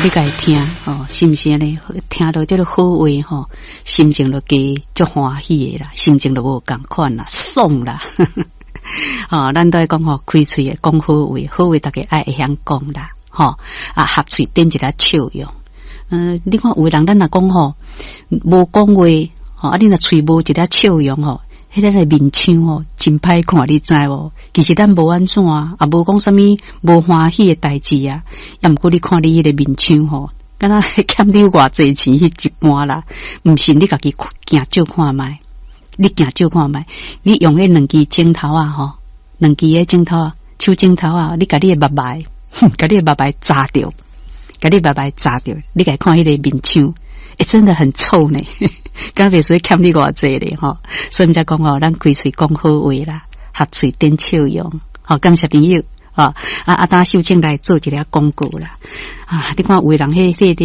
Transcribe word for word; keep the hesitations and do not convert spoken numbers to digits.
你共伊聽吼，是毋是按呢？聽著這个好話吼，心情就加足歡喜的啦，心情就無仝款啦，爽啦。吼，咱都愛講吼，開喙會講好話，好話逐家愛會曉講啦，吼啊，合喙頂一下笑容。嗯，你看有的人咱若講吼，無講話，吼啊，你若喙無一下笑容吼，彼个面相吼真歹看，你知無？其實咱無按怎啊，也無講啥物無歡喜的代誌啊。抑毋過你看你彼个面相吼，敢若欠你偌濟錢彼一般啦。毋信你家己鏡照看覓，你鏡照看覓，你用彼兩支指頭仔吼，兩支的指頭仔，手指頭仔，你共你的目眉，共你的目眉紮著，共你目眉紮著，你共看彼个面相。欸，真的很臭呢，敢袂使欠你偌濟咧吼，所以才講吼，咱開喙講好話啦，合喙展笑容，好，感謝朋友，啊啊，等秀清來做一下廣告啦，啊，你看有的人彼彼